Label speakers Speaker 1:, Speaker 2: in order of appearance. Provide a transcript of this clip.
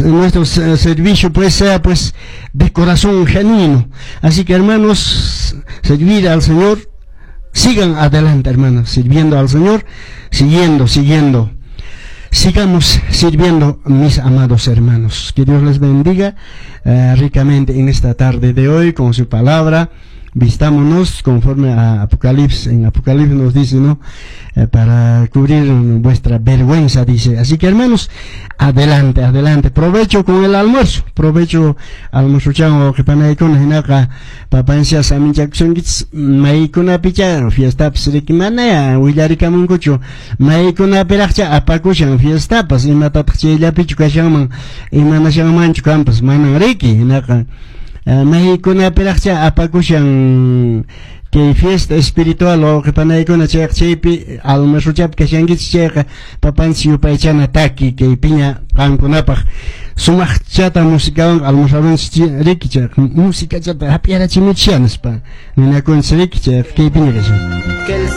Speaker 1: Nuestro servicio, pues, sea, pues, de corazón genuino. Así que, hermanos, servir al Señor, sigan adelante, hermanos, sirviendo al Señor, siguiendo, siguiendo. Sigamos sirviendo, mis amados hermanos. Que Dios les bendiga ricamente en esta tarde de hoy con su palabra. Vistámonos conforme a Apocalipsis. En Apocalipsis nos dice, ¿no? Para cubrir vuestra vergüenza, dice. Así que, hermanos, adelante, adelante. Provecho con el almuerzo. Provecho almuerzo que panaykuna hinaqa papancia saminchakusunkichis maykunapicha fiestapas riki mana willarikamunkuchu maykunapiraqcha apakushan fiestapas imatataq chayllapichu kashanman imanashanmanchu kanpas manan riki hinaqa maykunapiraqcha apakushan kay fiesta espiritual wawqipanaykuna chayqa chaypi almuerzochapi kashankichis chayqa papanchis yupaychana taki kaypiña qamkunapaq sumaqchata musikawan almorzarunchis riki chayqa musikachata hap'iyarachimuchis nispa ninakunchis riki chayqa kaypiña kashan.
Speaker 2: Que el